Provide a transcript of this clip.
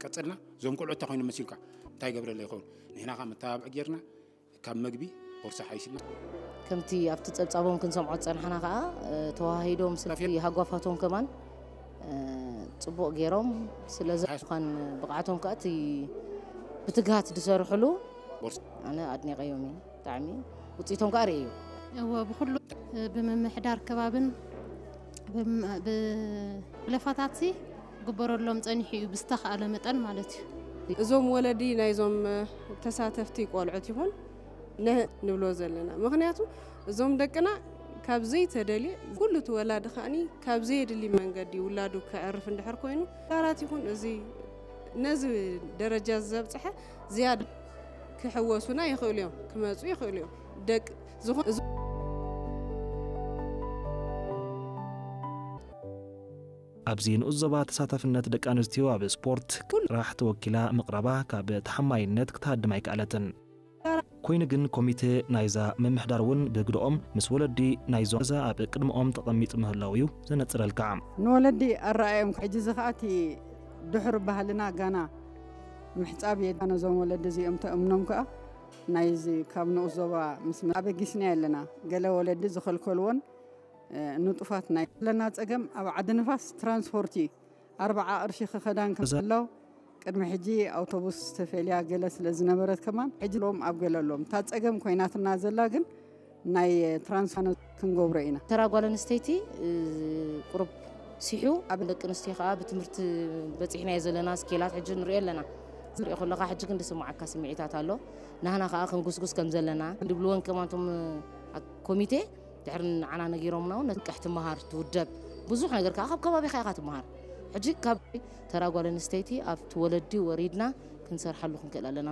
ቀጽልና እዞም ቆልዑ እንታይ ኮይኑ መሲልካ እንታይ ገብረለ ይኸውን ንሕና ከ መተባብዒ ጌርና ካብ መግቢ ቦርሳ ሓይስና ከምቲ ኣብቲ ጸብጻቦም ክንሰምዖ ዝጸናሕና ከኣ ተዋሂዶም ስልቲ ሃጓፋቶም ከማን ጽቡቕ ገይሮም ስለዚ ኳን ብቕዓቶም ከኣ እቲ ብትግሃት ዝሰርሕሉ ኣነ ኣድኒቀዮም እየ ብጣዕሚ ውፅኢቶም ከኣ ርእየ እዩ እወ ብኩሉ ብምምሕዳር ከባብን ብለፋታት ግበረሎም ጸኒሑ እዩ ብዝተኻእለ መጠን ማለት እዩ እዞም ወለዲ ናይዞም ተሳተፍቲ ቆልዑት ይኹን ንብሎ ዘለና ምክንያቱ እዞም ደቅና ካብ ዘይተደልየ ኩሉ እቲ ወላዲ ከኣኒ ካብ ዘየድሊ መንገዲ ውላዱ ከዕርፍ እንድሕር ኮይኑ ዳራት ይኹን እዚ ነዚ ደረጃ ዘብፅሐ ዝያድ ክሕወሱና ይኽእሉ እዮም ክመፁ ይኽእሉ እዮም ደቂ ዝኾ ኣብዚ ንኡስ ዞባ ተሳታፍነት ደቂ ኣንስትዮ ኣብ ስፖርት ኩል ጥራሕ ተወኪላ ምቕራባ ካብ ተሓማይነት ክትሃድም ኣይከኣለትን። ኮይኑ ግን ኮሚቴ ናይዛ ምምሕዳር እውን ብግድኦም ምስ ወለዲ ናይዞም ገዛ ኣብ ቅድመኦም ተቐሚጡ ምህላው እዩ ዘነፅረልካ። ንወለዲ ኣረኣዮም ሕጂ እዚ ከዓ እቲ ድሑር ባህልና ጋና ምሕፃብ የድካ ነዞም ወለዲ እዚኦም ተእምኖም ከዓ ናይዚ ካብ ንኡስ ዞባ ምስ ኣበጊስና ኣለና ገለ ወለዲ ዝኸልከልዎን ንጡፋት ናይ ዘለና ፀገም ኣብ ዓዲ ንፋስ ትራንስፖርት እዩ ኣርባዓ ቅርሺ ክኸዳን ከሎ ቅድሚ ሕጂ ኣውቶቡስ ተፈልያ ገለ ስለ ዝነበረት ከማን ሕጂ ሎም ኣብ ገለ ኣሎም እታ ፀገም ኮይናትና ዘላ ግን ናይ ትራንስፋኖ ክንገብሮ ኢና ተራ ጓል ኣንስተይቲ ቁሩብ ሲሑ ኣብ ደቂ ኣንስትዮ ከዓ ብትምህርቲ በፂሕናዮ ዘለና ስኬላት ሕጂ ንሪኦ ኣለና ዝሪኦ ከለካ ሕጂ ግን ዝስማዓካ ስምዒታት ኣሎ ናህና ከዓ ክንጉስጉስ ከም ዘለና ድብልወን ከማንቶም ኮሚቴ ድሕሪ ንዓና ነጊሮምና እውን ነትንቅሕ ትመሃር ትውደብ ብዙሕ ነገር ከዓ ካብ ከባቢኻ ኢኻ ትመሃር ሕጂ ካብ ተራ ጓል ኣንስተይቲ ኣብቲ ወለዲ ወሪድና ክንሰርሓሉ ክንክእል ኣለና